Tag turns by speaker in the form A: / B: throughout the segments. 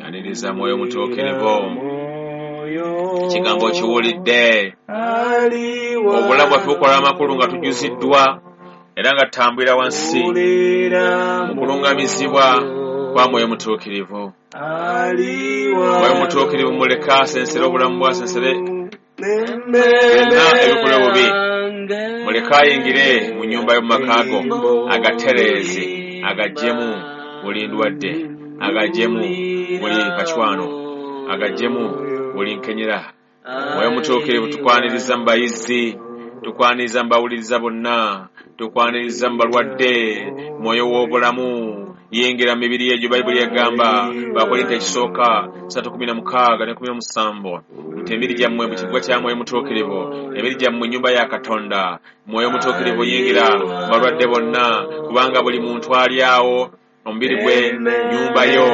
A: Yaniriza Mwoyo Mutuukirivu. Ekigambo kiwulidde. Obulamu bwaffe bukola amakulu nga tujuziddwa era nga tutambulira wansi mu kulungamizibwa kwa Mwoyo Mutuukirivu. Mwoyo Mutuukirivu muleke asensere obulamu bwe, asensere byonna ebikola obubi. Muleke ayingire mu nnyumba y'omu maka go, agatereeze, agaggyemu buli ndwadde, agaggyemu buli kacwano, agaggyemu buli nkenyera. Mwoyo Mutuukirivu tukwaniriza mu bayizi, tukwaniriza mu bawuliriza bonna, tukwaniriza mu balwadde. Mwoyo w'obulamu yingira mu mibiri egyo. Bayibuli egamba Bakorinto ekisooka 3:16 ne 17 nti emibiri gyammwe mu kiggwa kya Mwoyo Mutuukirivu, emibiri gyammwe nnyumba ya Katonda. Mwoyo Mutuukirivu yingira mu balwadde bonna, kubanga buli muntu ali awo omubiri gwe nnyumba yo.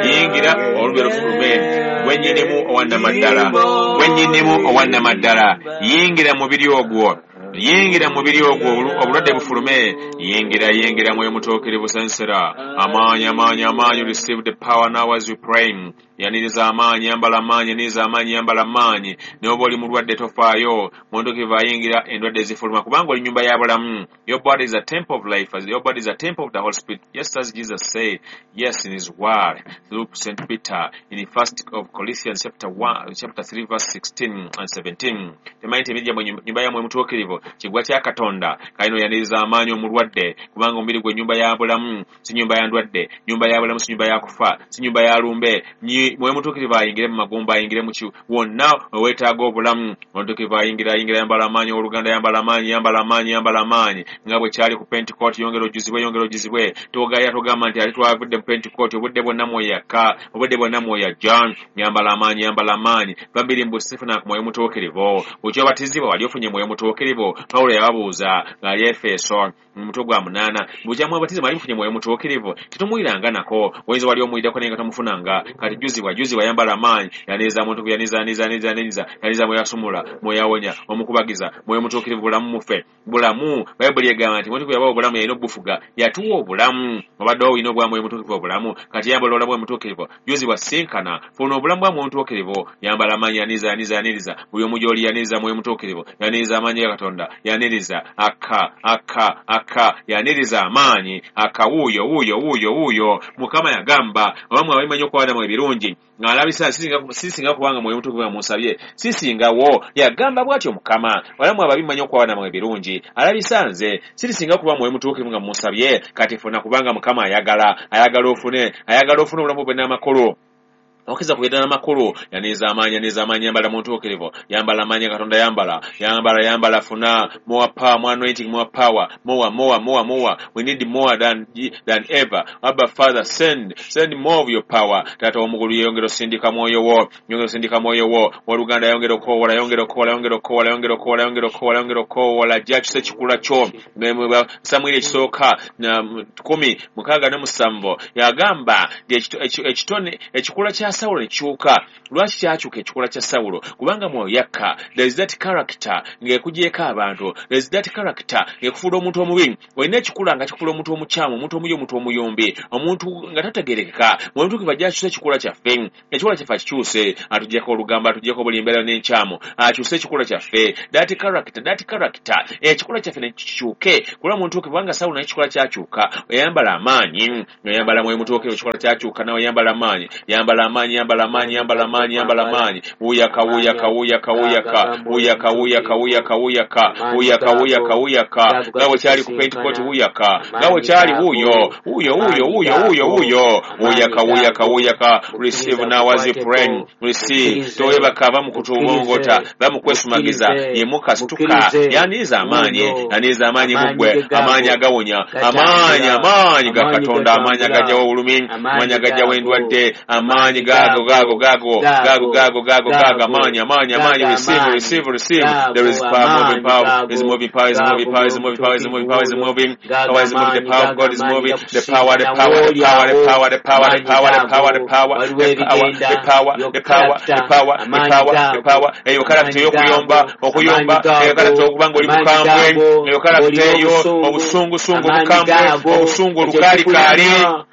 A: Yingira olube lufulume, gwe nnyinimu owannamaddala, gwe nnyinimu owannamaddala. Yingira mu mubiri ogwo, yingira mu mubiri ogwo, obulwadde bufulume. Yingira, yingira Mwoyo Mutuukirivu, sensera amaanyi, amaanyi, amaanyi. Receive the power now as you pray. Yaniriza amaanyi, yambala amaanyi, yaniriza amaanyi, yambala amaanyi. Naye oba oli mulwadde tofaayo, Mwoyo Mutuukirivu ayingira, endwadde zifuluma, kubanga oli nnyumba ya bulamu. Your body is a temple of life, your body is a temple of the Holy Spirit, just as Jesus said, yes, in his word through St. Peter in the first of Corinthians chapter 1, chapter 3 verse 16 and 17. Temanyi nti emibiri gyammwe nnyumba ya Mwoyo Mutuukirivu, kiggwa kya Katonda. Kalino yaniriza amaanyi omulwadde, kubanga omubiri gwe nnyumba ya bulamu, si nnyumba ya ndwadde, nnyumba ya bulamu, si nnyumba ya kufa, si nnyumba ya lumbe. Mwoyo Mutuukirivu ayingire mu magumba, ayingire mu wonna weweetaaga obulamu. Mwoyo Mutuukirivu ayingira, ayingira, yambala amaanyi, owooluganda, yambala amaanyi, yambala amaanyi, yambala amaanyi, nga bwe kyali ku Pentecost. Yongera ojjuzibwe, yongera ojjuzibwe. Togaya togamba nti ate twavudde mu Pentecost, obudde bwonna Mwoyo yakka, obudde bwonna Mwoyo ajja. Yambala amaanyi, yambala amaanyi. Babiri mbu sifuna ku Mwoyo Mutuukirivu. Bw'okyobatizibwa wali ofunye Mwoyo Mutuukirivu? Pawulo yababuuza ng'ali Efeso mu mutwe gwa 8, bw'okya mwabatiza mwali mufunye Mwoyo Mutuukirivu? Tetumuyiranga nako. Oyinza wali omuyiddako naye nga tomufunanga. Kati jjuzibwa, jjuzibwa, yambala amaanyi. Yaniriza muntu, yaniriza, yaniriza, yaniriza, yaniriza, yaniriza. Mwoyo asumula, Mwoyo awonya, omukubagiza. Mwoyo Mutuukirivu bulamu muffe, bulamu. Bayibuli egamba nti Mwoyo Mutuukirivu yabawa obulamu, yalina obufuga, yatuwa obulamu. Obadde olina obwa Mwoyo Mutuukirivu obulamu, kati yambala obulamu bwa Mutuukirivu. Jjuzibwa, sinkana, funa obulamu bwa Mwoyo Mutuukirivu. Yambala amaanyi, yaniriza, yaniriza, yaniriza. Buli omu gy'oli yaniriza Mwoyo Mutuukirivu, yaniriza amaanyi ga Katonda, yaniriza akka, akka, akka, yaniriza amaanyi akka. Wuuyo, wuuyo, wuuyo, wuuyo. Mukama yagamba oba mwe abamanyi okuwa ebirungi ng'alabisa sisinga kubanga Mwoyo Mutuukirivu musabye sisingawo. Yagamba bw'atyo Mukama, wala mwe ababimanyi okuwa namwe ebirungi, alabisa nze sirisinga kuba Mwoyo Mutuukirivu nga musabye. Kati funa, kubanga Mukama ayagala, ayagala ofune, ayagala ofune obulamu bwe n'amakulu. Okiza kubeera n'amakulu. Yaniriza amaanyi, yaniriza amaanyi, yambala Mutuukirivu, yambala amaanyi Katonda, yambala, yambala, yambala, funa more power, more anointing, more power, more, more, more, more. We need more than ever. Abba Father, send, send more of your power. Taata w'omugulu, yongera osindika Mwoyo wo, yongera osindika Mwoyo wo. Waluganda, yongera okukowoola, yongera okukowoola, yongera okukowoola, yongera okukowoola, yongera okukowoola, yongera okukowoola. Ajja akyuse ekikula kyo. Samwiri ekisooka 10:67 yagamba ekitone ekikula kya Sawulo ne kikyuka. Lwaki kyakyuka ekikula kya Sawulo? Kubanga Mwoyo yakka. There is that character ng'ekugyeko abantu, there is that character ng'ekufuula omuntu omubi. Olina ekikula nga kikufuula omuntu omukyamu, omuntu omubi, omuntu omuyombi, omuntu nga tategerekeka. Mwoyo Mutuukirivu ajja akyuse ekikula kyaffe, ekikula kyaffe akikyuse, atugyeko olugambo, atugyeko buli mbeera n'enkyamu, akyuse ekikula kyaffe, that character, that character, ekikula kyaffe ne kikyuke kulwa Mwoyo Mutuukirivu. Kubanga Sawulo naye ekikula kyakyuka, oyambala amaanyi, oyambala Mwoyo Mutuukirivu, ekikula kyakyuka, nawe yambala amaanyi, yambala amaanyi, yambala amaanyi, yambala amaanyi, yambala amaanyi. Wuyaka, wuyaka, wuyaka, wuyaka, wuyaka, wuyaka, wuyaka, wuyaka, wuyaka, wuyaka, wuyaka, nga bwe kyali ku Pentecost. Wuyaka nga bwe kyali. Wuuyo, wuuyo, wuuyo, wuuyo, wuuyo, wuuyo. Wuyaka, wuyaka, wuyaka. Receive now as you pray. Receive. Toyebaka, va mu kutubongota, va mu kwesumagiza, yemuka, situka, yaniriza amaanyi, yaniriza amaanyi muggwe, amaanyi agawonya, amaanyi, amaanyi ga Katonda, amaanyi agajjawo obulumi, amaanyi agajjawo endwadde, amaanyi gago, gago, gago, gago, gago, gago, gago, amaanyi, amaanyi, amaanyi. Receive, receive, receive. There is power, moving power is moving, power is moving, power is moving, power is moving, power is moving, power is moving, the power of God is moving, the power, the power, the power, the power, the power, the power, the power, the power, the power, the power, the power, the power, the power, the power. Eyo character y'okuyomba, okuyomba, eyo character okuba ng'oli mukambwe, eyo character eyo obusungusungu, obukambwe, obusungu olukaalikaali.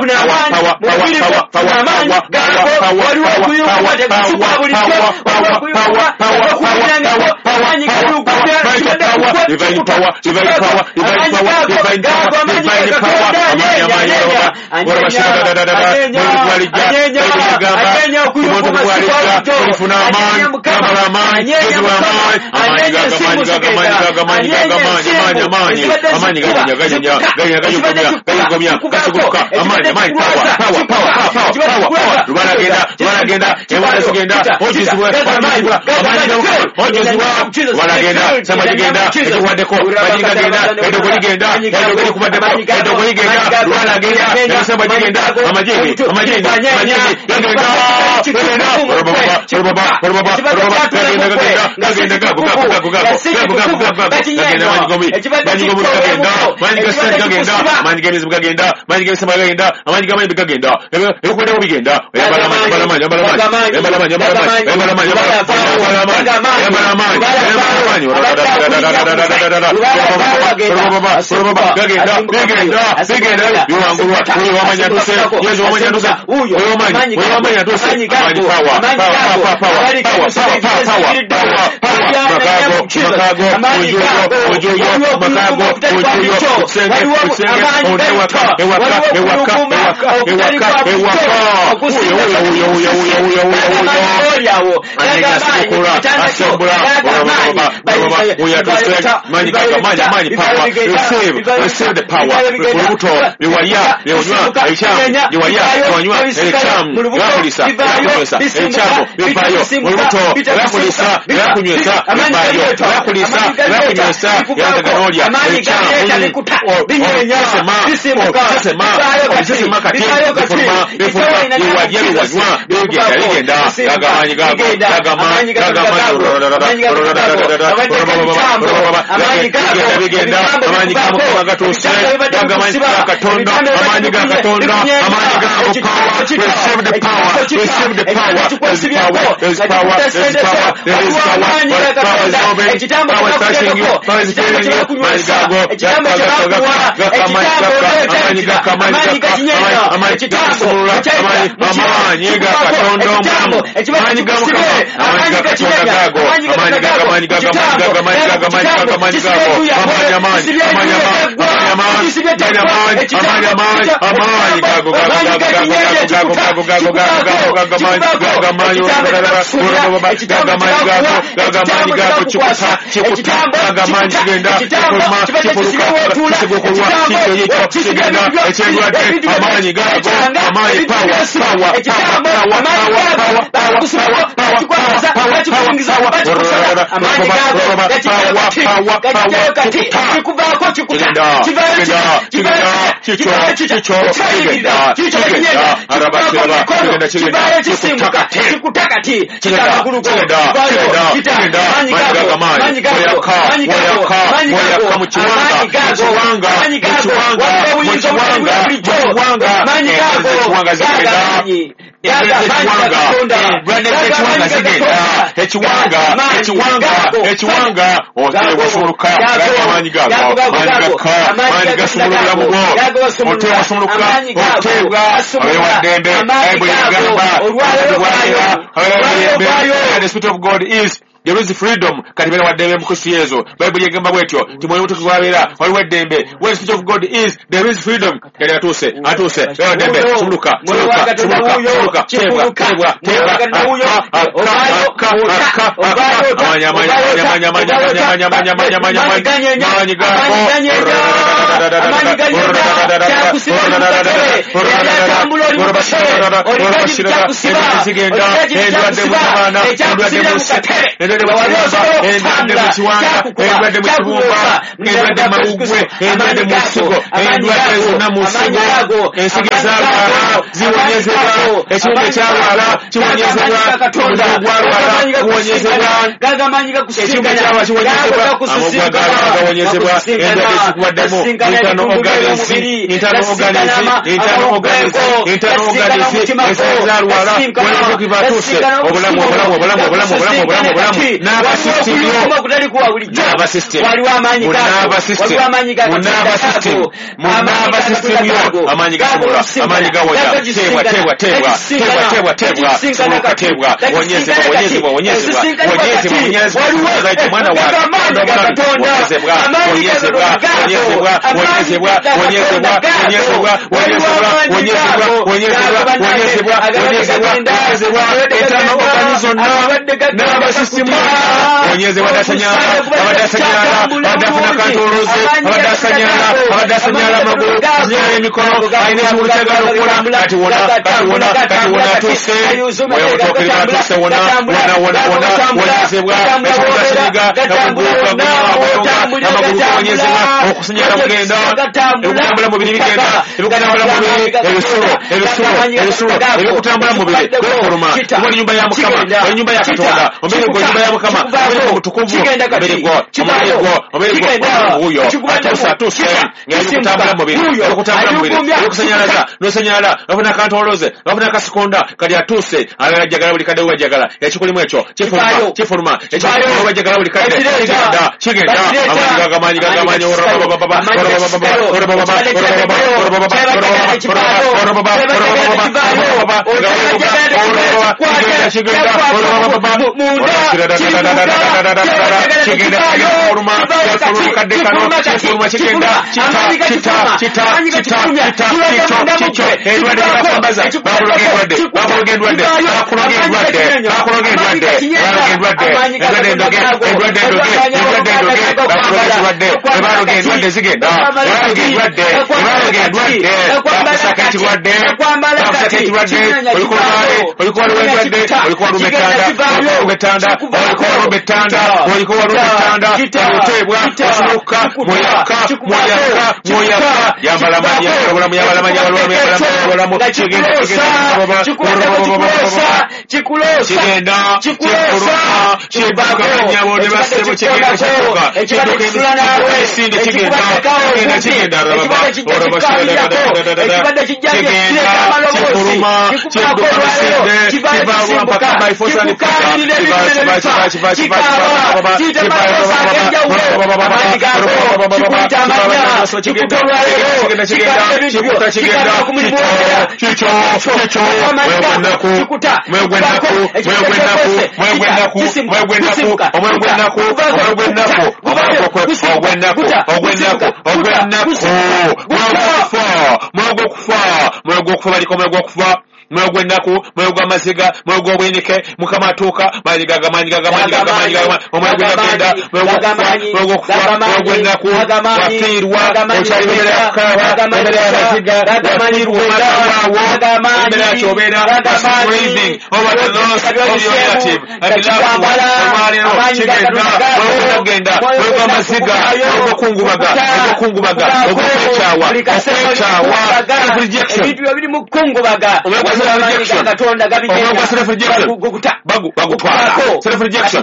B: Funa amaanyi mu mubiri gwo, funa amaanyi gaago. Waliwo okuyunguka tekusukwa bulijjo, waliwo okuyunguka okuwulirangako amaanyi gayuguta kibadde.
A: Divine power, divine power, divine power, divine power, divine power. Receive the power. Receive the power, receive the power, there's power, there's power, there's power, there is power, power is moving, power is touching you, power is filling you, The Spirit of God is there is freedom. Kati bera waddembe mu Kristo Yesu. Bayibuli egamba bwetyo nti Mwoyo Mutukuvu abeera waliwo eddembe. Where the Spirit of God is, there is freedom. Kati atuuse, atuuse, bera waddembe, sumuluka, sumuluka, sumuluka, sumuluka, teebwa, teebwa, teebwa, amaanyi, amaanyi, amaanyi, amaanyi, amaanyi, amaanyi, amaanyi, amaanyi, amaanyi, amaanyi gago, endwadde mu kiwanga, endwadde mu kibumba, endwadde mu mawuggwe, endwadde mu nsigo, endwadde zonna mu nsigo, ensigo ezaalwala ziwonyezebwa, ekiwundu ekyalwala kiwonyezebwa, omuzigo gwalwala guwonyezebwa, ekiwundu ekyalwala kiwonyezebwa, amagwa gawonyezebwa, endwadde zikubaddemu Internal organs, internal organs, internal organs, internal organs, ezalwala wetukivatuse obulamu obulamu obulamu obulamu obulamu obulamu obulamu nervous system yo, nervous system, nervous system, nervous system, nervous system yo, amaanyi gasumulula, amaanyi gawonya, teebwa teebwa teebwa teebwa teebwa teebwa, sumuluka teebwa, wonyezebwa wonyezebwa wonyezebwa wonyezebwa wonyezebwa, mwana wa wonyezebwa wonyezebwa wonyezebwa wonyezebwa wonyezebwa wonyezebwa wonyezebwa wonyezebwa wonyezebwa wonyezebwa wonyezebwa, internal organs zonna, nervous system wonyezebwa, abadde asanyala, abadde afuna kantoloze, abadde asanyala, abadde asanyala amagulu, asanyala emikono, alina ekiwulu kyagala okukola, kati wona, kati wona, kati wona atuuse, mwoyo mutuukirivu atuuse, wona, wona, wona, wona, wonyezebwa, ekiwulu asinyiga, nakuguuka, amagulu gawonyezebwa, okusinyala kugenda, ebikutambula mubiri bigenda, ebikutambula mubiri, ebisulo, ebisulo, ebisulo, ebikutambula mubiri, bifuluma, kuba ennyumba ya Mukama, ennyumba ya Katonda, omubiri gwo ennyumba ya Mukama, omubiri gwo mutukuvu, omubiri gwo, omubiri gwo, omubiri gwo, wuuyo, atuuse, atuuse, ng'ebikutambula mubiri, ebikutambula mubiri, ebikusanyalaza, n'osanyalala, bafuna kantoloze, bafuna kasikonda, kati atuuse, ayagala jjagala buli kadde wajjagala, ekikulimu ekyo, kifuluma, kifuluma, ekikulimu wajjagala buli kadde, kigenda, kigenda, amaanyi gagamanyi, Mwoyo gw'ennaku, mwoyo gw'amaziga, mwoyo gw'obuyinike, Mukama atuuka, maanyi gaga, maanyi gaga, maanyi gaga, maanyi gaga, omwoyo gw'ennaku, mwoyo gw'okufa, mwoyo gw'okufa, mwoyo gw'ennaku, wafiirwa, okyali mu mbeera ya kukaaba, mu mbeera y'amaziga, wafiirwa omwana waawo, mu mbeera ya ky'obeera, grieving over the loss of your relative and loved one, olwaleero kigenda, mwoyo gw'okugenda, mwoyo gw'amaziga, mwoyo gw'okungubaga, ogw'okungubaga, ogw'okwekyawa, okwekyawa, self-rejection, bagutwala, self-rejection,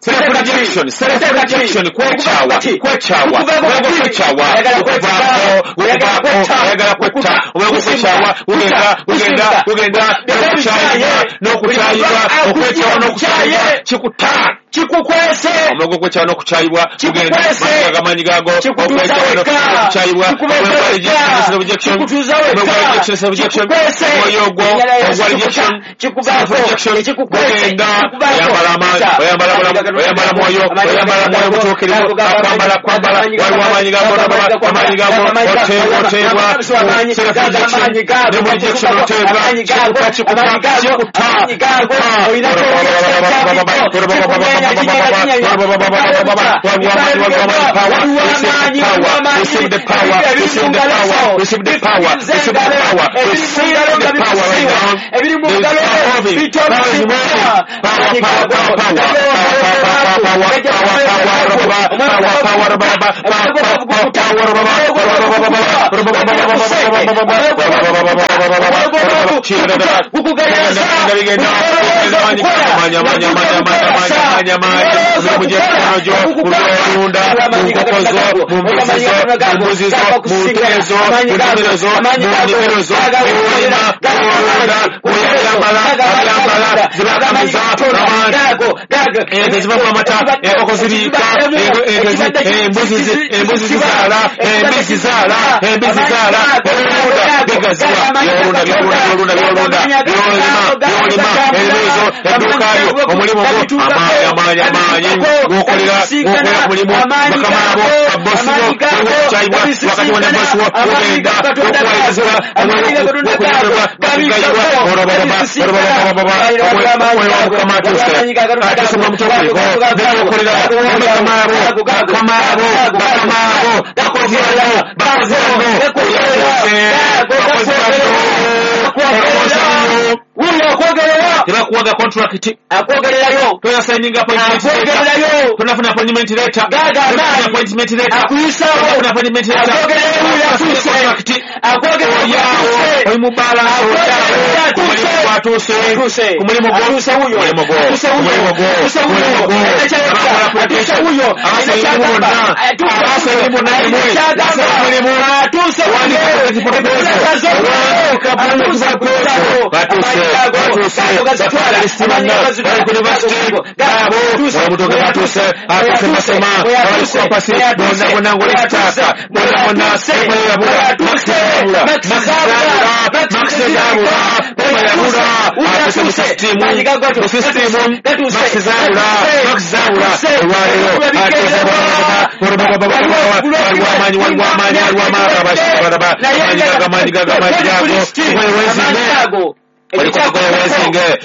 A: self-rejection, self-rejection, kwekyawa, kwekyawa, kwekyawa, okuvaako, okuvaako, ayagala kwetta, okwekyawa, ugenda, ugenda, ugenda, n'okukyayibwa, n'okukyayibwa, okwekyawa n'okukyayibwa, kikuta,
B: kikukwese,
A: omwoyo gw'okwekyawa n'okukyayibwa, gugenda, amaanyi gago, okwekyawa n'okukyayibwa,
B: kikutuuza wekka, kikukwese,
A: omwoyo ogwo, ogwa rejection, self-rejection, gugenda, oyambala amaanyi, oyambala bulamu, oyambala mwoyo, oyambala mwoyo mutuukirivu, akwambala, kwambala, waliwo amaanyi gago, amaanyi gago, oteebwa, oteebwa, self-rejection, ne mu rejection oteebwa, kikuta, kikuta, kikuta, Receive the power, receive the power, receive the power, receive the power, receive the power right now. There is power moving, power is moving, power, power, power, power, power, power, power, power, power, power, Tebakuwaga contract,
B: akwogererayo,
A: toyasigninga appointment letter,
B: akwogererayo,
A: tonafuna appointment letter,
B: gaga
A: tonafuna appointment letter,
B: akuyisaawo,
A: tonafuna appointment letter,
B: akwogererayo,
A: akutuse,
B: akwogererayo,
A: oli mu bbaala, ku mulimu gwatuuse, ku mulimu gwo, mulimu gwo, mulimu gwo, mulimu gwo, abakola application, abasobola bonna, abasobola bonna emwe, mulimu,
B: atuuse,
A: wandika proposal, batuuse, batuuse,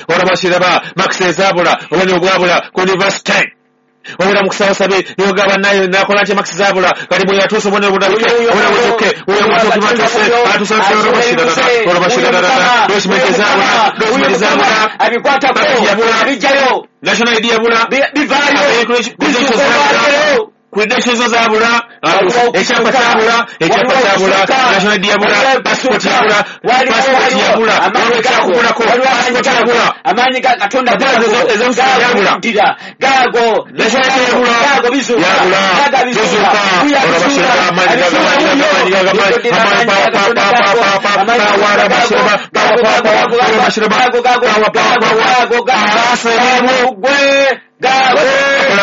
A: olabashiraba makisi ezabula obonye obwabula ku university obera mukusabasabe yogaba nayo nakola nti makisi zabula kati bwe yatuuse obonero budabike obona butuke oyo mutuke batuse atuse olabashiraba document ezabula document ezabula
B: abikwatako abijjayo
A: national ID yabula
B: bivaayo
A: bizuuka credentials zabula ekyapa kyabula ekyapa kyabula national ID yabula passport yabula passport yabula waliwo passport yabula
B: amaanyi ga Katonda
A: yabula
B: gago
A: national ID yabula
B: gago bizuuka
A: yabula
B: gago bizuuka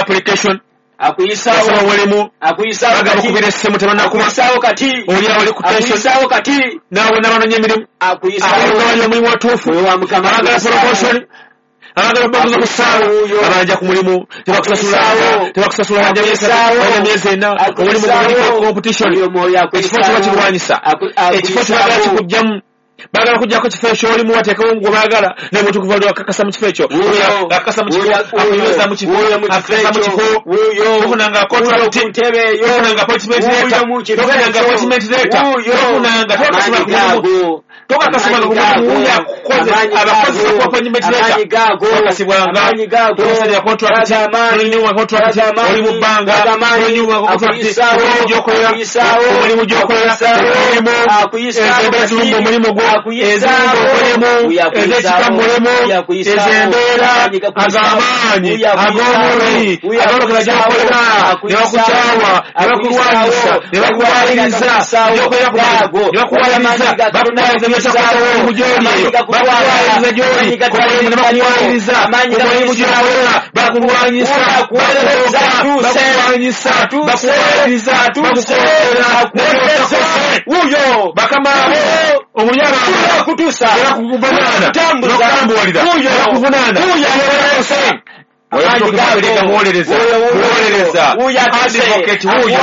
A: application
B: akuyisaawo
A: mulimu
B: akuyisaawo
A: bagabakubira essimu tebanakuba
B: akuyisaawo kati
A: oli awo ku tension
B: akuyisaawo kati
A: naawe nabanoonya emirimu
B: akuyisaawo
A: abagala omulimu watuufu
B: wa Mukama
A: abagala promotion abagala babuza ku ssaawa abanja ku mulimu tebakusasula tebakusasula wanja myezi ena omulimu guliko competition ekifo kiba kirwanyisa ekifo kibagala kikugjamu baagala kujjako kifo ekyo olimu wateekewo gwe baagala naye mutukuva oli akakasa mu kifo ekyo akakasa mu kifo akunyweza mu kifo akakasa mu kifo tofunanga contract tofunanga appointment letter tofunanga appointment letter tofunanga tokakasibwanga ku mulimu wuyo akukoze abakozesa ku appointment letter tokakasibwanga tokusalira contract tolinyuwa contract oli mu bbanga tolinyuwa contract omulimu gy'okolera omulimu gy'okolera omulimu ezembeera zirumba omulimu gwo ezimba omulimu ez'ekika mulimu ez'embeera ag'amaanyi ag'omubiri agolokera gy'okolera ne bakukyawa ne bakulwanyisa ne bakuwaliriza gyokolera ku mulimu ne bakuwaliriza bakuwaliriza by'otakola gy'oli eyo bakuwaliriza gy'oli ku mulimu ne bakuwaliriza ku mulimu gy'okolera bakulwanyisa bakulwanyisa bakuwaliriza bakukolera
B: wuyo
A: bakama omuyaba
B: akutuusa
A: bakuvunaana bakuvunaana muwolereza muwolereza advocate wuyo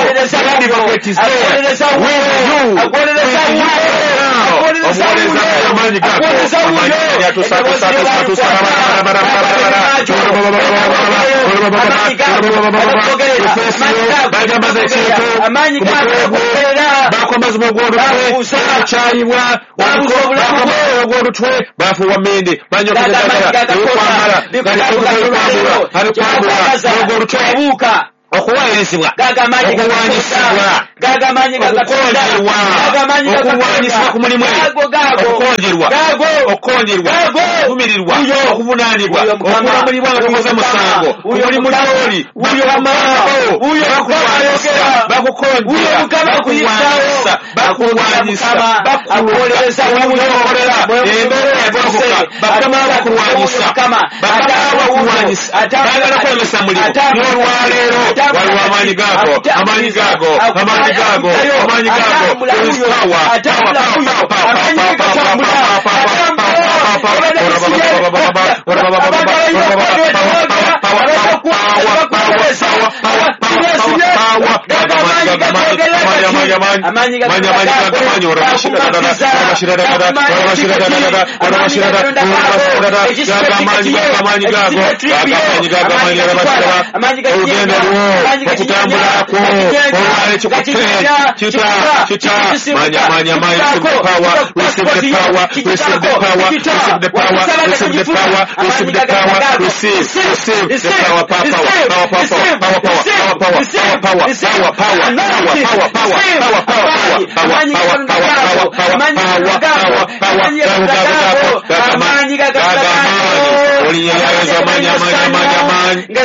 A: advocate is there with you omuwolereza amaanyi gago bagambaza ekintu bakwambaza ogw'olutwe bakyayibwa ogw'olutwe bafuuwa mende banyokezakwambala ogw'olutwe okuwayirizibwa okuwanyisibwa okukonjerwa okuwanyisibwa ku mulimu okukonjerwa Okukonjerwa, okuvumirirwa, okuvunaanibwa, okulamulibwa nga tokoze musango, ku mulimu gy'oli, bakulwanyisa, bakukonjera, bakulwanyisa, bakulwanyisa, bakulwanyisa, bakukolera, embeera egolokoka, bakama bakulwanyisa, bakama bakulwanyisa, baagala kulemesa mulimu, n'olwaleero waliwo amaanyi gago, amaanyi gago, amaanyi gago, amaanyi gago, there is power, power, power, power, power, power, olugendo lwo okutambulakwo olwalekikutte kita kita manya manya manya receive the power, receive the power, receive the power, receive the power, receive the power, receive the power, receive the power, power, power, power, power,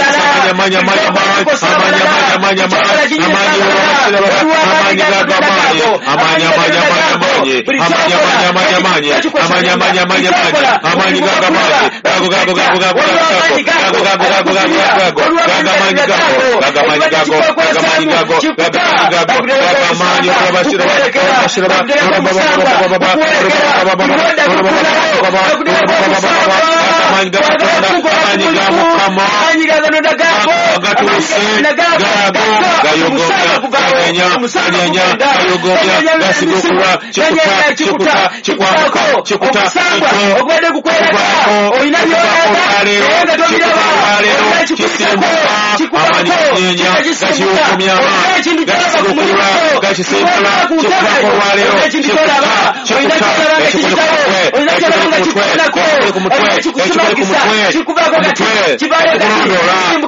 A: power, power, power, power, power,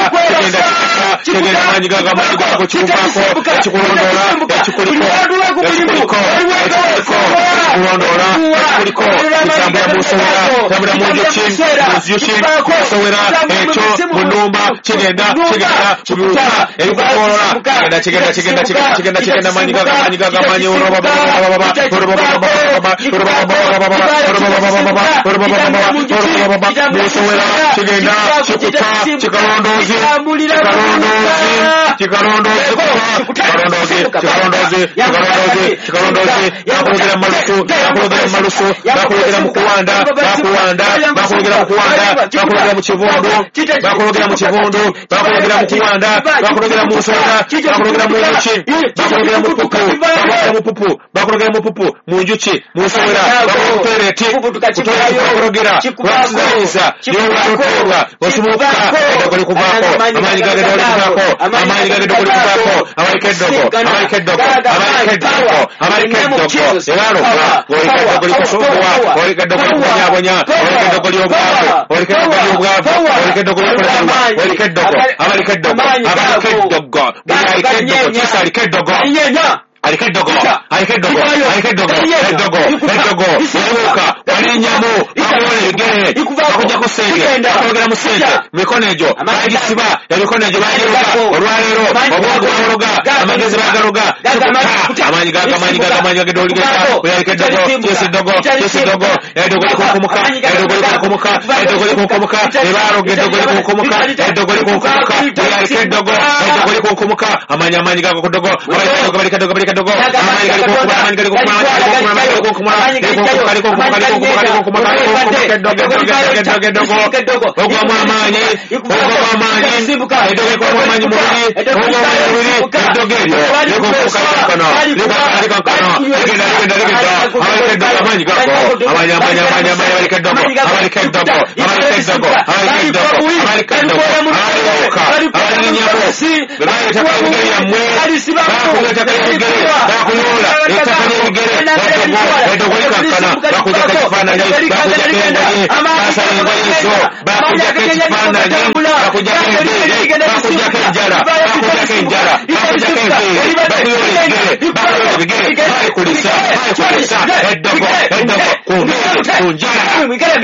A: power, power, power, power, power, power, power, power, Eddogo, eddogo likankana, bakujjako ekifaananyi, bakujjako engoye, basala engoye ezo, bakujjako ekifaananyi, bakujjako enviiri, bakujjako enjala, bakujjako enjala, bakujjako enviiri, bakuyola ebigere, bakuyola ebigere, balikulisa, balikulisa, eddogo, eddogo, ku nviiri, ku njala,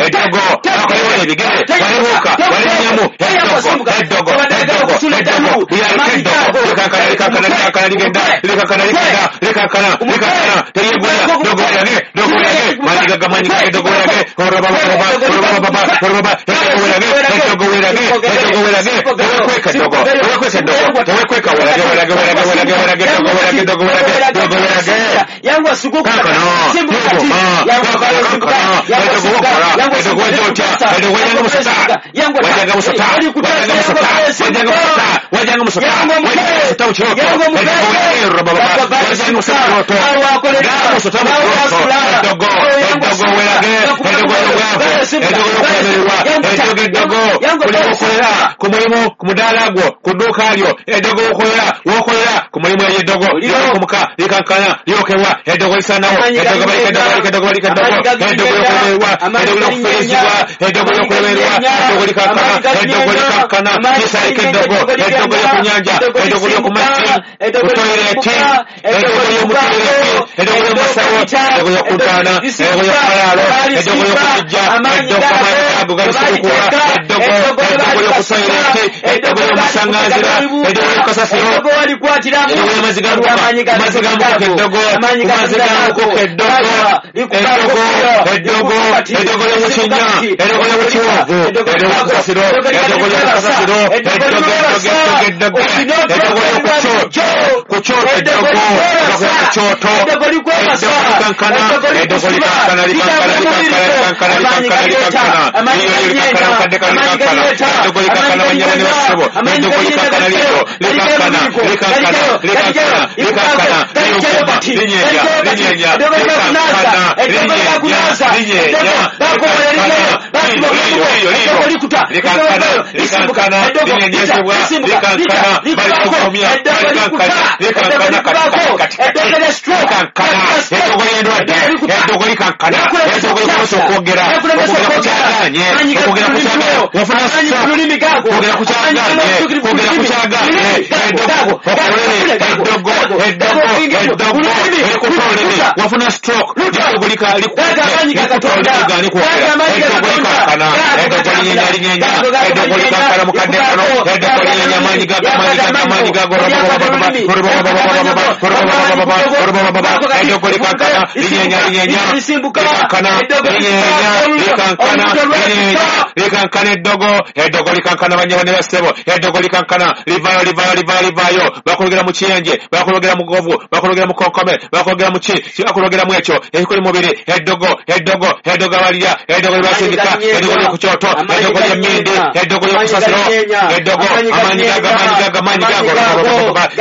A: eddogo, bakuyola ebigere, walibuuka, walinnyamu, eddogo, eddogo, eddogo, eddogo, lyaliko eddogo, likankana, likankana, likankana, ligenda, likankana, ligenda, likankana, likankana, teryegula, ddogo werage, ddogo werage, maanyi gaga, maanyi gage, ddogo werage, orobaba, orobaba, orobaba, orobaba, eddogo werage, eddogo werage, eddogo werage, tewekweka eddogo, tewekweka eddogo, tewekweka, werage, werage, werage, werage, werage, ddogo werage, ddogo werage, ddogo werage.
B: Yangu asuguka
A: Kankana,
B: simbuka
A: yogoma,
B: yangu
A: kankana,
B: simbuka
A: kankana,
B: yangu
A: eddogo
B: simbuka
A: wokola,
B: yangu
A: eddogo wajja otya, eddogo wajjanga musota,
B: yangu
A: wajjanga musota, wajjanga musota, wajjanga musota, wajjanga musota, wajjanga musota mu kirooto, eddogo werage, robaba, wajjanga musota mu kirooto, gamba musota mu kirooto, eddogo, eddogo werage, eddogo ly'obwavu, eddogo ly'okulemererwa, eddogo, eddogo, buli wokolera ku mulimu, ku mudaala gwo, ku dduuka lyo, eddogo wokolera, wokolera ku mulimu eryo eddogo, lyokumuka, likankana, lyokebwa, eddogo lisaanawo, eddogo balika, eddogo balika, eddogo balika, eddogo, eddogo ly'okulemererwa, eddogo ly'okufiirizibwa, eddogo ly'okulemererwa, eddogo likankana, eddogo likankana, lisaalika eddogo, eddogo ly'oku nnyanja, eddogo ly'oku mazzi, ku toyireeti, eddogo ly'omu toyireeti, eddogo ly'omu masawo, eddogo ly'oku ntaana, eddogo ly'oku malaalo, eddogo ly'oku kijja, eddogo amaanyi gago galisukukula, eddogo, eddogo ly'oku toyireeti, eddogo ly'omu masaŋŋanzira, eddogo ly'oku kasasiro,
B: eddogo walikwatiramu
A: eddogo ly'amazzi ga mukoka, amazzi ga mukoka eddogo, ku mazzi ga mukoka eddogo, eddogo, eddogo, eddogo ly'omu kinnya, eddogo ly'omu kiwonvu, eddogo ly'oku kasasiro, eddogo ly'oku kasasiro, eddogo, eddogo, eddogo, eddogo, eddogo ly'oku kyoto, ku kyoto eddogo, eddogo ku kyoto,
B: eddogo likwebasa
A: eddogo likankana, eddogo likankana, likankana, likankana, likankana, likankana, likankana, liryo likankana, mukadde kano likankana, eddogo likankana, bannyabo ne bassebo, eddogo likankana liryo, likankana, likankana, likankana, likankana, liyokoma, linyeenya, linyeenya, likankana, linyeenya, linyeenya, likankana, liryo, liryo, liryo, likankana, likankana, linyenyezebwa, likankana, balikukomya, balikankana, likankana, kati, kati, kati, likankana, eddogo ly'endwadde, eddogo likankana, eddogo likukosa okwogera, okwogera ku kyagaanye, okwogera ku kyagaanye, wafuna stroke, kwogera ku kyagaanye, kwogera ku kyagaanye, eddogo, okolere, eddogo, eddogo, eddogo, erikuta olulimi, wafuna stroke, eddogo likuta olulimi gaani kwogera, eddogo likankana, eddogo linyeenya linyeenya, eddogo likankana mukadde kano, eddogo linyeenya amaanyi gago, amaanyi gago, amaanyi gago, eddogo likankana, linyeenya linyeenya, likankana, linyeenya, likankana, linyeenya, likankana eddogo, eddogo likankana bannyabo ne bassebo, eddogo likankana, livaayo, livaayo, livaayo, livaayo, bakulogera mu kiyenje, bakulogera mu govu, bakulogera mu konkome, bakulogera mu ki, bakulogera mu ekyo, ekikuli mubiri, eddogo, eddogo, eddogo abalirya, eddogo lyebasindika, eddogo ly'oku kyoto, eddogo ly'emmindi, eddogo ly'oku kasasiro, eddogo, amaanyi gago, amaanyi gago, amaanyi gago,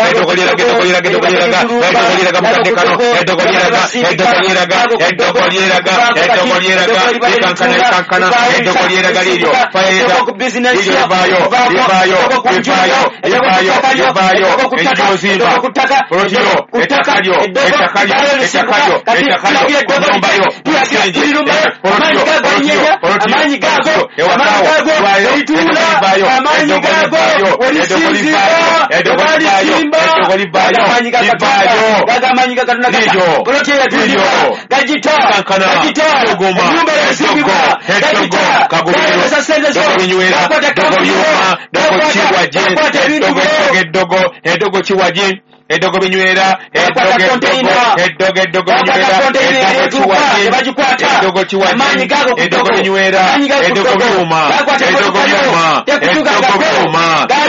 A: eddogo lyeraga, eddogo lyeraga, eddogo lyeraga, eddogo lyeraga mukadde kano, eddogo lyeraga, eddogo lyeraga, eddogo lyeraga, eddogo lyeraga, likankana, likankana, eddogo lyeraga liryo, fayeza, liryo livaayo, livaayo, livaayo, livaayo, livaayo, enjuba ozimba, polotiro, ettaka lyo, ettaka lyo, ettaka lyo, ettaka lyo, ku nnyumba yo, ku musingi, polotiro, polotiro, polotiro, ewakaawo, livaayo, eddogo livaayo, eddogo livaayo, eddogo livaayo, eddogo livaayo, eddogo livaayo, livaayo, liryo, liryo, likankana, luguma, eddogo, eddogo, kagubiro, ddogo binywera, ddogo byuma, ddogo kiwaje, eddogo, eddogo, eddogo kiwaje, eddogo binywera, eddogo, eddogo, eddogo, eddogo binywera, eddogo kiwaje, eddogo kiwaje, eddogo binywera, eddogo byuma, eddogo byuma, eddogo byuma,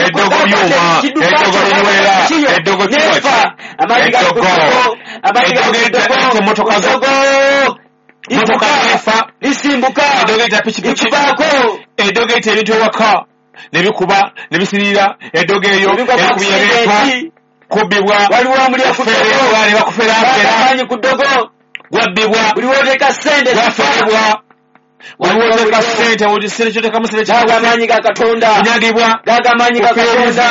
A: eddogo byuma, eddogo binywera, eddogo kiwaje, eddogo, eddogo emmotoka zo, motoka efa,
B: lisimbuka,
A: eddogo eyita pikipiki,
B: likubaako,
A: eddogo eyita ebintu ewaka, ne bikuba, ne bisirira, eddogo eryo erikubya ebintu, kubbibwa,
B: waliwo omuliro ku ddogo,
A: kuferebwa, ne bakuferafera,
B: amaanyi ku ddogo,
A: gwabbibwa,
B: buli w'oteeka ssente
A: gwaferebwa, Waliwo ssente ssente kyotekamu ssente
B: Gago amaanyi ga Katonda.
A: Kunyagibwa.
B: Gago amaanyi ga Katonda.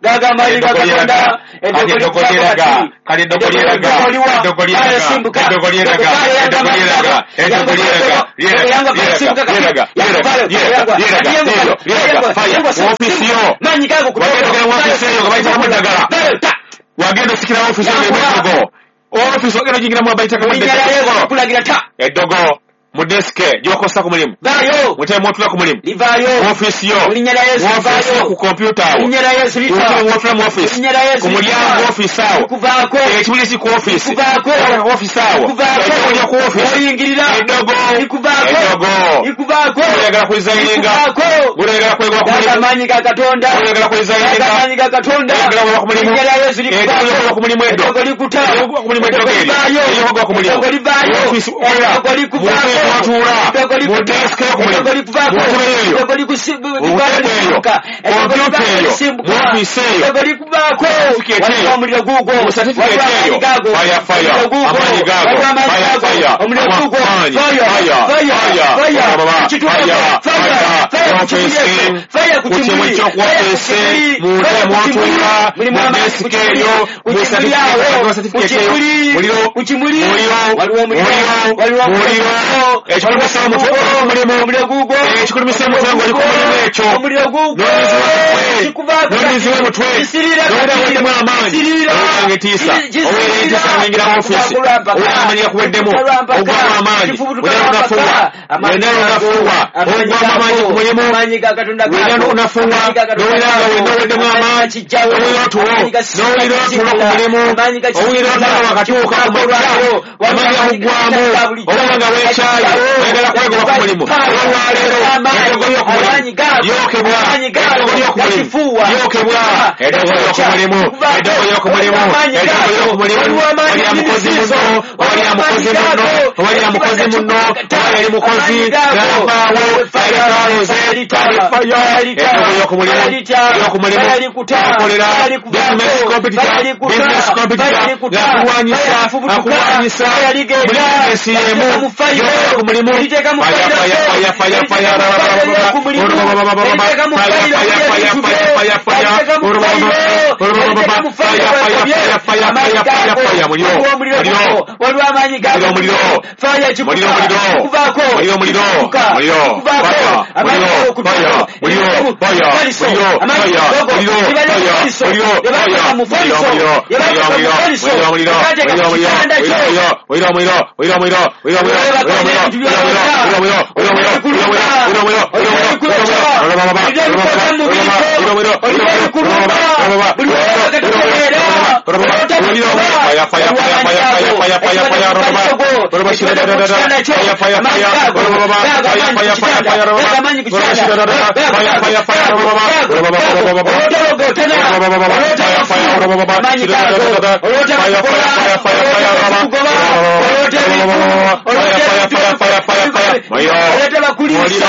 B: Gago amaanyi ga Katonda.
A: Kati eddogo lyeraga. Kati eddogo lyeraga. Eddogo lyeraga. Eddogo lyeraga. Eddogo lyeraga. Eddogo lyeraga. Lyeraga. Lyeraga. Lyeraga. Lyeraga. Lyeraga. Lyeraga. Lyeraga. Fire. Woofiisi yo.
B: Maanyi gago
A: Wagenda ogenda mu woofiisi eyo nga bayitakamu eddagala. Wagenda osikira woofiisi eyo eddogo. Woofiisi ogenda ogiyingiramu bayitakamu
B: Linnya lya Yesu
A: eddogo.
B: kulagira ta.
A: Eddogo mu desike gy'okozesa ku mulimu.
B: Vaayo.
A: Muteme mw'otuula ku mulimu.
B: Livaayo.
A: Woofiisi yo.
B: Mu linnya lya Yesu
A: Woofiisi yo
B: livaayo.
A: ku kompyuta
B: Mu
A: awo.
B: linnya lya Yesu lita.
A: Wotula mu
B: Mu
A: ofiisi.
B: linnya lya Yesu
A: Ku mulyango
B: lita.
A: ofiisi awo.
B: Likuvaako.
A: Ekimuli kiri ku ofiisi.
B: Likuvaako.
A: Ku ofiisi awo.
B: Likuvaako.
A: Eddogo lyo ku ofiisi.
B: Oyingirira.
A: Eddogo.
B: Likuvaako.
A: Eddogo.
B: Likuvaako.
A: Oyagala kulizayininga.
B: Likuvaako.
A: Oyagala kwegoba ku
B: Gago
A: mulimu.
B: amaanyi ga Katonda.
A: Oyagala kulizayininga.
B: Gago amaanyi ga Katonda.
A: Oyagala kugoba ku mulimu.
B: Mu linnya lya Yesu
A: Eddogo
B: likuvaako.
A: lyokugoba ku mulimu eddo.
B: Eddogo likuta.
A: Eddogo ku mulimu eddogo
B: Eddogo
A: eryo.
B: livaayo.
A: Eryokugoba ku mulimu.
B: Eddogo livaayo.
A: Ofiisi okola.
B: Eddogo likuvaako.
A: Mu ntebe mw'otuula.
B: Eddogo
A: Mu
B: likuta.
A: desike yo ku mulimu.
B: Eddogo likuvaako.
A: Mu ntebe eyo.
B: Eddogo
A: Mu ntebe eyo.
B: lisimbuka. Eddogo
A: Kompyuta
B: livaayo
A: eyo.
B: lisimbuka.
A: Mu ofiisi eyo.
B: Eddogo likuvaako.
A: Certificate
B: Waliwo
A: eyo.
B: omuliro guugwo.
A: Mu certificate
B: Waliwo
A: eyo.
B: amaanyi gago.
A: Fire, fire.
B: Omuliro guugwo.
A: Amaanyi gago.
B: Waliwo amaanyi
A: Fire,
B: gago.
A: fire.
B: Omuliro guugwo.
A: Amaanyi.
B: Fire,
A: Fire,
B: fire,
A: fire.
B: fire.
A: Baba,
B: Kituufu.
A: fire,
B: Fire,
A: fire.
B: fire ku kimuli
A: Ofiisi.
B: ekyo. Fire ku
A: Ku kimuli
B: kimuli.
A: ky'oku
B: Fire ku
A: ofiisi.
B: kimuli.
A: Mu ntebe
B: Fire ku kimuli.
A: mw'otuula.
B: Mulimu
A: Mu
B: amaanyi ku
A: desike
B: kimuli.
A: eyo.
B: Ku
A: Mu
B: kimuli awo.
A: certificate
B: Ku
A: eyo.
B: kimuli.
A: Muliro.
B: Ku kimuli.
A: Muliro.
B: Waliwo omuliro.
A: Muliro.
B: Waliwo
A: Muliro. Ekikulumisa omutwe
B: Omuliro
A: ku mulimu.
B: Omuliro guugwo.
A: Ekikulumisa omutwe ng'oli ku mulimu ekyo.
B: Omuliro guugwo.
A: N'onyiziwa
B: Kikuvaako
A: n'onyiziwa omutwe.
B: Kisirira
A: N'owulira
B: kati.
A: weddemu amaanyi.
B: Kisirira.
A: Owulira ng'etiisa. Owulira entiisa ng'oyingira mu ofiisi.
B: Lwampaka.
A: Owulira amaanyi gakuweddemu.
B: Lwampaka.
A: Ogwamu amaanyi.
B: Kifubutuka
A: Wenna
B: lwampaka.
A: onafuwa.
B: Amaanyi
A: Wenna
B: gago.
A: onafuwa.
B: Amaanyi
A: Ogwamu amaanyi ku
B: gago.
A: mulimu.
B: Amaanyi ga Katonda
A: Wenna
B: gago.
A: onafuwa.
B: Amaanyi ga Katonda
A: N'owulira nga
B: gago.
A: wenna oweddemu
B: Amaanyi
A: amaanyi.
B: gakijjawo.
A: Owulira otulo.
B: Amaanyi gasimbuka
A: N'owulira otulo ku mulimu.
B: Amaanyi
A: Owulira
B: gakisimbuka.
A: otulo wakatuuka ku
B: Kifubutuka
A: makya.
B: olwayo. Waliwo
A: Amaanyi
B: amaanyi
A: gakuggwamu.
B: ga bulijjo.
A: Oba nga weekyaye. Oyagala kwegoba ku mulimu.
B: Fire.
A: Olwaleero. Eddogo ly'oku mulimu.
B: Amaanyi gago.
A: Lyokebwa.
B: Amaanyi gago.
A: Eddogo ly'oku mulimu.
B: Gakifuuwa.
A: Lyokebwa. Eddogo ly'oku mulimu. Eddogo ly'oku mulimu. Eddogo ly'oku mulimu. Wali amukozi muno. Wali amukozi muno. Wali amukozi muno. Wali ali mukozi. N'avaawo. Yalekaloze. Fire. Eddogo ly'oku mulimu. Ly'oku mulimu. Akolera. Business competitor. Business competitor. Akulwanyisa. Akulwanyisa. Muli bizinesi y'emu. Yokebwa ku mulimu. Fire, fire, fire, fire, fire.
B: Waliwo amaanyi gago.
A: Muliro,
B: Fire kikuta.
A: Muliro, muliro.
B: Kikuvaako.
A: Muliro, muliro.
B: Kikutuka.
A: Muliro.
B: Kikuvaako.
A: Fire.
B: Amaanyi
A: Muliro.
B: gago kutuka.
A: Fire. Muliro. Fire.
B: Mufaliso.
A: Muliro.
B: Amaanyi
A: Fire.
B: gago.
A: Muliro.
B: Libali
A: Fire.
B: mufaliso.
A: Muliro.
B: Yebateeka
A: Fire.
B: mufaliso.
A: Muliro.
B: Yebateeka
A: Muliro.
B: mufaliso.
A: Muliro. Muliro.
B: Yebateeka
A: Muliro.
B: ku kitanda kyo.
A: Muliro. Muliro. Muliro. Muliro. Muliro. Muliro. Muliro.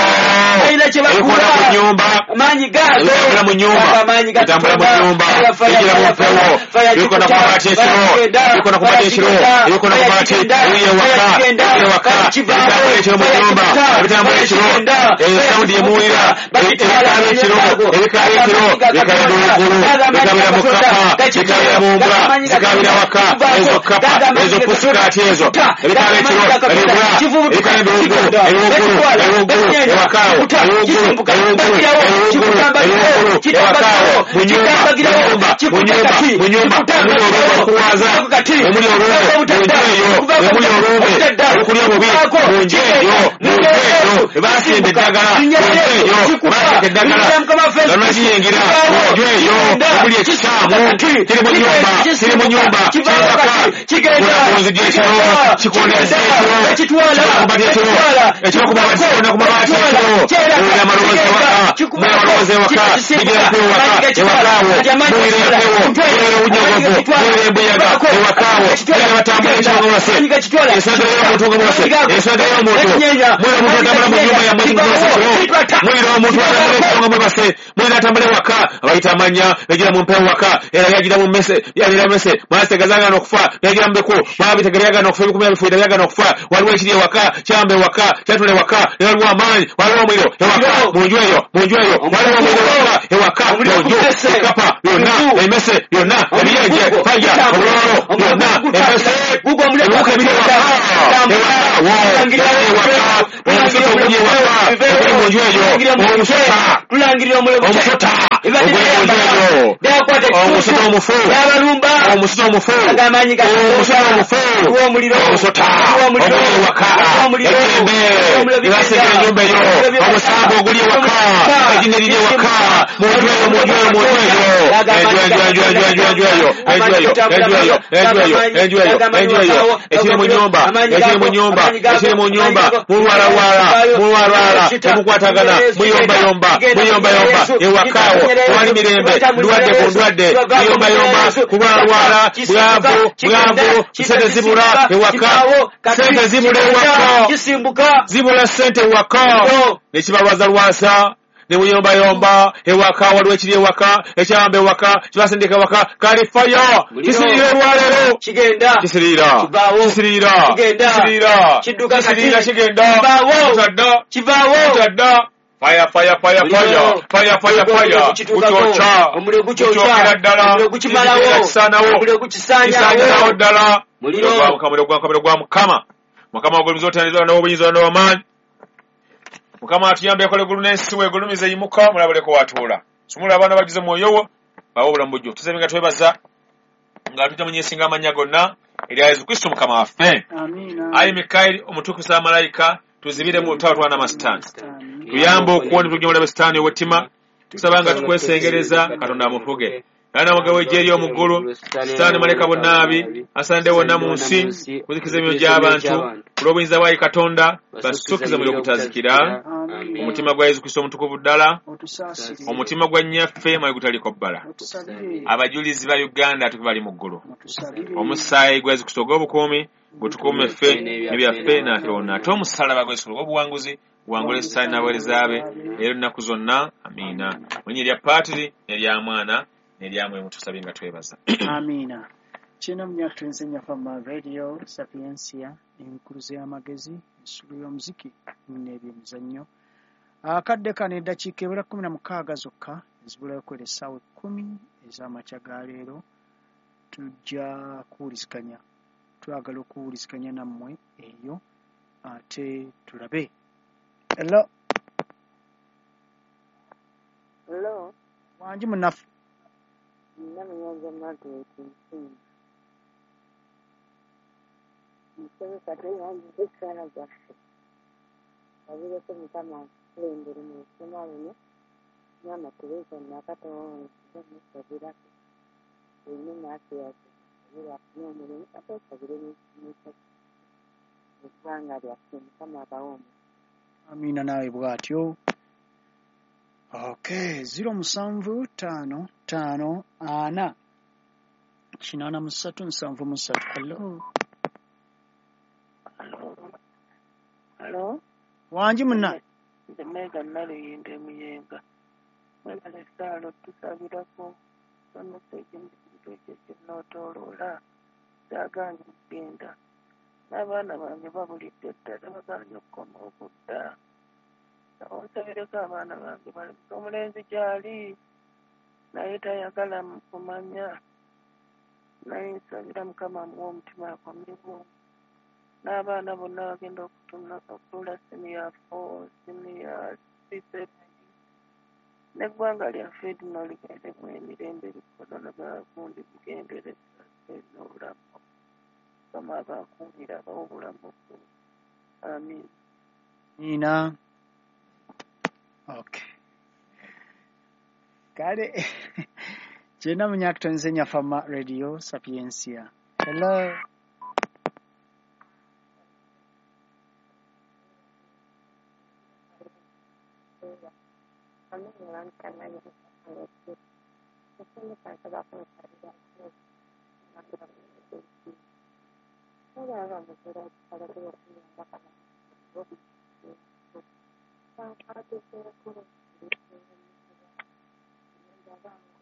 A: Ebikola ku nnyumba.
B: Amaanyi gago.
A: Ebitambula mu nnyumba.
B: Amaanyi ga
A: Ebitambula mu nnyumba.
B: Fire,
A: Bigira mu
B: fire,
A: mpewo.
B: fire,
A: Ebikola ku mabaati ekiro. Ebikola ku mabaati ekiro. Ebikola ku mabaati eyo ewaka. Eyo ewaka. Ebitambula ekiro mu nnyumba. Ebitambula ekiro. Eyo sawundi emuwulira. Ebikaaba ekiro. Ebikaaba ekiro. Bikaabira waggulu. Bikaabira mu kkapa. Bikaabira mu mbwa. Zikaabira waka. Ezo kkapa. Ezo pusikaati ezo. Ebikaaba ekiro. Ebigula. Ebikaaba ewaggulu. Ewaggulu. Ewakaawo. Ewaggulu. Ewaggulu. Ewaggulu. Ewaggulu. Ewakaawo. Mu nnyumba. Mu nyumba. Mu nyumba. Mu nyumba. Omuli olumbe okulwaza. Omuli olumbe. Mu nju eyo. Omuli olumbe. Olukulya obubi. Mu nju eyo. Mu nju eyo. Basimba eddagala. Mu nju eyo. Bateeka eddagala. Lwakiyingira. Mu nju eyo. Omuli ekikyamu. Kiri mu nnyumba. Kiri mu nnyumba. Kiri waka. Kikola ku nzigi ekiro. Kikonda ekiro. Kikuba ekiro. Ekiro ku mabaati. Kikonda ku mabaati ekiro. Owulira amaloboozi ewaka. Owulira amaloboozi ewaka. Bigera ku ewaka. Ewakaawo muwulira empewo, muwulira obunyogovu, muwulira embuyaga. Ewakaawo muwulira batambula ekiro nga mwebase, ensonga y'omuntu nga mwebase, ensonga y'omuntu. Muwulira omuntu atambula mu nnyumba yammwe nga mwebase ekiro, muwulira omuntu atambula ekiro nga mwebase, muwulira atambula ewaka, abayita amanya, yagira mu mpewo waka, era yagira mu mmese, yagira mu mmese, mwasitegaza agaana okufa, yagira mu biku, mwabitegera byagaana okufa, ebikumi byabifuira byagaana okufa. Waliwo ekiri ewaka, kyamba ewaka, kyatula ewaka, ne waliwo amaanyi, waliwo omuliro ewaka, mu nju eyo, mu nju eyo, waliwo omuliro ewaka, ewaka, mu nju, ekapa, byonna, emmese, byonna, ebiyenje, faya, obulolo, byonna, emmese, ebiwuka ebiri ewaka, ewaka, wo, ewaka, omusota oguli ewaka, oguli mu nju eyo, omusota, omusota, oguli mu nju eyo, omusota omufu, omusota omufu, omusota omufu, omusota, oguli ewaka, emirembe, ebasengera ennyumba eyo, omusambo oguli ewaka, ejjinni eriri ewaka, mu nju eyo, mu nju eyo, mu nju eyo, enju, enju, enju, enju, enju, enju eyo, enju eyo, enju eyo, enju eyo, enju eyo, enju eyo, ekiri mu nnyumba, ekiri mu nnyumba, ekiri mu nnyumba, mulwalalwala, mulwalwala, temukwatagana, muyombayomba, muyombayomba, ewakaawo, tewali mirembe, ndwadde ku ndwadde, muyombayomba, kulwalalwala, bwavu, bwavu, sente zibula ewaka, sente zibula ewaka, zibula sente ewaka, nekibalwazalwaza, ne muyombayomba ewaka, waliwo ekiri ewaka, ekyamba ewaka, kibasindika ewaka, kalifayo, kisiriira olwaleero, kisiriira, kisiriira, kisiriira, kisiriira, kigenda, kitadda, kitadda, fire, fire, fire, fire, fire, fire, fire, gukyokya, gukyokera ddala, kisaanawo, kisaanyirawo ddala, muliro gwa Mukama, muliro gwa Mukama, muliro gwa Mukama, Mukama ogulumiza otandizwa n'obuyinza n'amaanyi. Mukama atuyambe ekola eggulu n'ensi, weegulumize yimuka, mulabuleko watuula. Sumula abaana bagize mwoyo wo, bawe obulamu bujjuvu. Tusabye nga twebaza nga tujja mu nsinga amannya gonna erya Yesu Kristo Mukama waffe. Ayi Mikayiri omutukuvu wa malayika, tuzibire mu lutalo twana amasitaani. Tuyambe okuwona tujja mulabe sitaani ow'ettima. Tusaba nga tukwesengereza Katonda amufuge. Era mugabo ejje eri omuggulu, sitaani malayika bonnaabi, asaanidde wonna mu nsi, kuzikiza emyoyo gy'abantu, olw'obuyinza bwa Katonda, basukkize muliro ogutazikira. Omutima gwa Yesu Kristo omutukuvu ddala, omutima gwa nnyaffe mwayi gutaliko bbala. Abajulizi ba Uganda bali mu ggulu. Omusaayi gwa Yesu Kristo ogw'obukuumi gutukuume ffe n'ebyaffe naffe wonna. Ate omusaalaba gwa Yesu Kristo ogw'obuwanguzi guwangule sitaani n'abaweereza be leero ennaku zonna. Amiina. Mu linnya erya Paatiri n'erya Mwana n'erya Mwoyo mutusabye nga twebaza.
C: Amiina. Kino munyakutwenze Nyafama Radio Sapiensia, enkuluze y'amagezi, ensulu y'omuziki n'ebyemizannyo. Akadde kano eddakiika ebula 16 zokka ezibulayo kwera essaawa 10 ez'amakya ga leero. Tujja kuwuliziganya, twagala okuwuliziganya nammwe eyo ate tulabe. Hello.
D: Hello.
C: Wangi munnaffe.
D: Namunyanza Margaret Nsinga. Musomesa tweyanziza essaala zaffe. Sabireko Mukama akulembere mu lusoma luno. Maama Teresa Nakatonda musabirako. Olina Mathias asabire afune omulimu ate osabire n'ekisomesa eggwanga lyaffe. Mukama abawe omukisa.
C: Amiina naawe bw'atyo. Okay, 07 5 5 4 83 73. Hello.
D: Hello.
C: Wangi munna.
D: Nze Mega Naluyinda Muyenga. Mwebale essaala tusabirako somesa ekintu ekyo kinotooloola kyagaanye okugenda. N'abaana bange babulidde ddala bagaanye okukoma okudda. Onsabireko abaana bange balabika omulenzi gy'ali naye tayagala kumanya, naye nsabira Mukama amuwe omutima akomewo. N'abaana bonna bagenda okutuula siniya 4, siniya 7, n'eggwanga lyaffe lino ligendemu emirembe likolona bagundi bigendere n'obulamu. Mukama abakuumire abawe obulamu. Amiina.
C: Amiina. Okay. Kale kyena munyakutonze Nyafama Radio Sapiensia. Hello.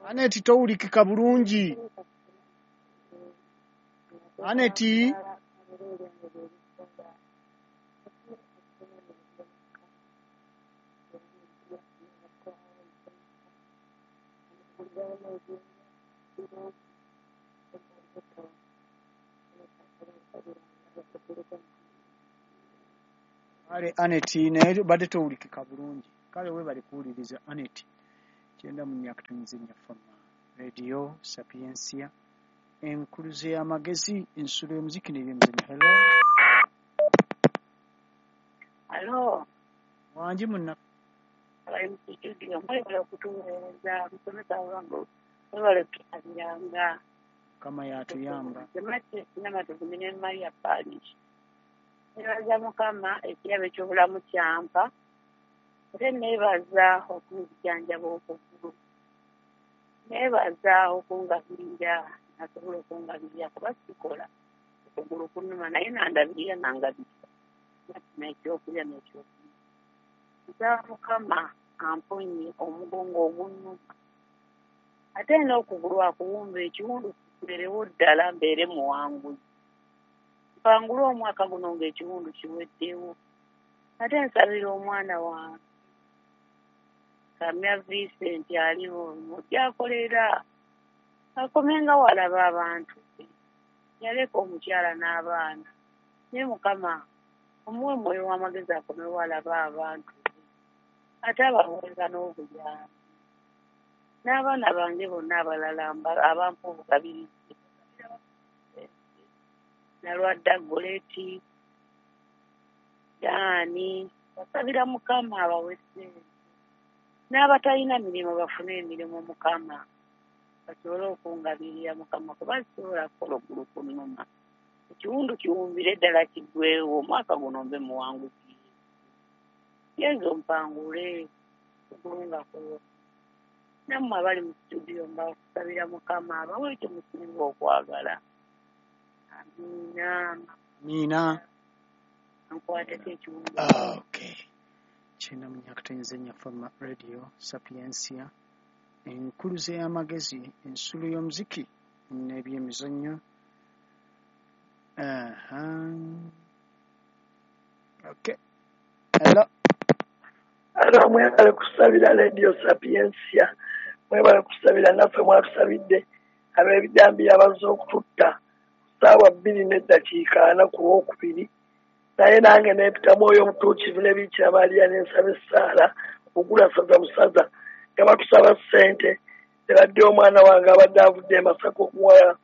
C: Aneti towulikika bulungi. Aneti kale Aneti naye badde towulikika bulungi. Kale weebale kuwuliriza Aneti. 94 Fama Radio Sapientia, enkuluze y'amagezi, ensulo y'omuziki n'ebyemizannyo. Hello.
D: Alo,
C: Wangi munna.
D: Abali mu studio mwebale okutuweereza, musomesa wange mwebale kutusabiranga.
C: Mukama y'atuyamba.
D: Namatovu ne Maria Parish. Neebaza Mukama ekirabo eky'obulamu kyampa, ate neebaza okunzijanjaba okugulu. Neebaza okungabirira, nasobola okungabirira kuba sikola okugulu kunnuma naye nandabirira nangabirira. Nafuna ekyokulya n'ekyokunywa. Nsaba Mukama amponye omugongo ogunnuma. Ate n'okugulu akuwumba ekiwundu kibeerewo ddala mbeere muwanguzi. Mpangule omwaka guno ng'ekiwundu kiweddewo. Ate nsabira omwana wange Kamya Vincent aliwo gyakolera akomenga walaba abantu be. Yaleka omukyala n'abaana. Naye Mukama omuwe mwoyo w'amagezi akomewo alaba abantu be. Ate abaweereza n'obuyambi. N'abaana bange bonna abalala abampa obugabirizi. Nalwadda Goleti, Daani, basabira Mukama abawe ssente. N'abatalina mirimu bafune emirimu Mukama basobole okungabirira Mukama kuba sisobola kukola okugulu kunnuma. Ekiwundu kiwumbire ddala kiggwewo omwaka guno mbe muwanguzi. Yezu mpangule okugulu nga kuwo. Nammwe abali mu studio mbasabira Mukama abawe ekyo musinga okwagala. Amiina.
C: Amiina.
D: Nkwateko ekiwundu.
C: Okay. 94 Fama Radio Sapientia, enkuluze y'amagezi, ensulo y'omuziki n'ebyemizannyo. Aha. Okay. Hello.
E: Alo, mwebale kusabira Radio Sapientia, mwebale kusabira naffe mwatusabidde ab'ebijambiya abazze okututta 2:40 ku Lwokubiri. Naye nange neepita Mwoyo Omutuukirivu ne Biikira Maria ne nsaba essaala okugula saza busaza nga batusaba ssente ne badde omwana wange abadde avudde e Masaka okumuwa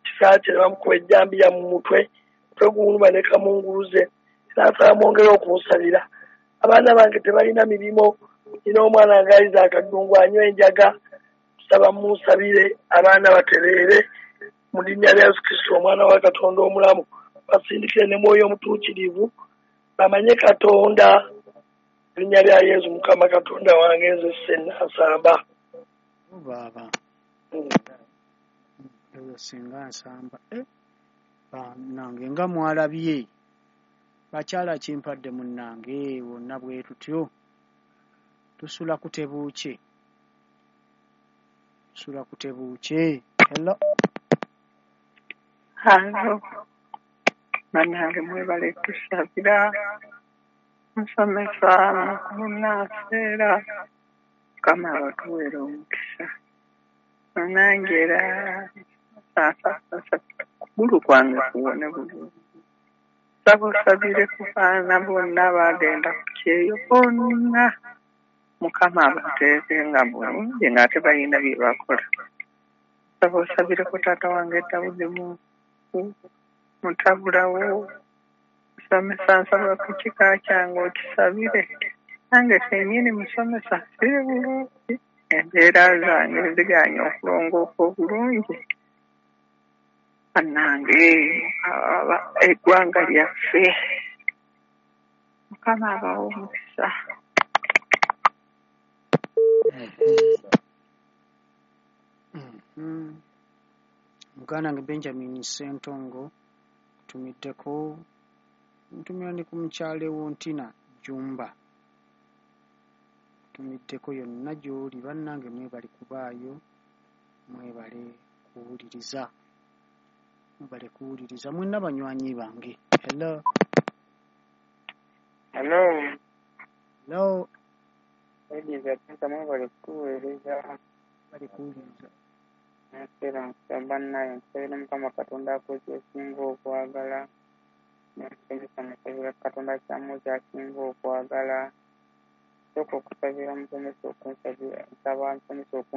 E: kisa kye ne bamukuba ejjambiya mu mutwe, mutwe gumuluma ne kamunguluze. Era nsaba mwongere okunsabira. Abaana bange tebalina mirimu, nina omwana nga ayiza akadungu anywa enjaga, nsaba munsabire abaana batereere mu linnya lya Yesu Kristo omwana wa Katonda omulamu. Basindikire ne Mwoyo Omutuukirivu bamanye Katonda. Linnya lya Yesu Mukama Katonda wange nze Ssennansamba.
C: Baaba. Eyo singa nsamba. Bannange nga mwalabye. Bakyala kimpadde munnange wonna bwe tutyo. Tusula kutebuukye. Tusula kutebuukye. Hello.
F: Hello. Bannange mwebale tusabira, musomesa mukulu Naaseera, Mukama abatuweere omukisa. Bannange era okugulu kwange kuwone bulungi. Nsaba osabire ku baana bonna abaagenda ku kyeyo bonna, Mukama abateeke nga bulungi ng'ate balina bye bakola. Nsaba osabireko taata wange Dawudi mutabulawo, musomesa nsaba ku kika kyange okisabire. Nange kennyini musomesa siri bulungi, embeera zange zigaanye okulongooka obulungi. Bannange eggwanga lyaffe, Mukama abawe omukisa.
C: Muganda wange Benjamin Ssentongo ntumiddeko, ntumira ne ku mukyala Wontina Jumba, ntumiddeko yonna gy'oli. Bannange mwebale kubaayo, mwebale kuwuliriza, mwebale kuwuliriza mwenna banywanyi bange. Hello.
G: Hello.
C: Hello.
G: Ladies and mwebale kutuweereza.
C: Bali kuwuliriza.
G: Nseera nsaba naye nsabira Mukama Katonda akuwe ky'osinga okwagala. N'omusomesa musabira Katonda kyamuwe ky'asinga okwagala. Sooka okusabira musomesa okunsabira, nsaba musomesa okunsabira.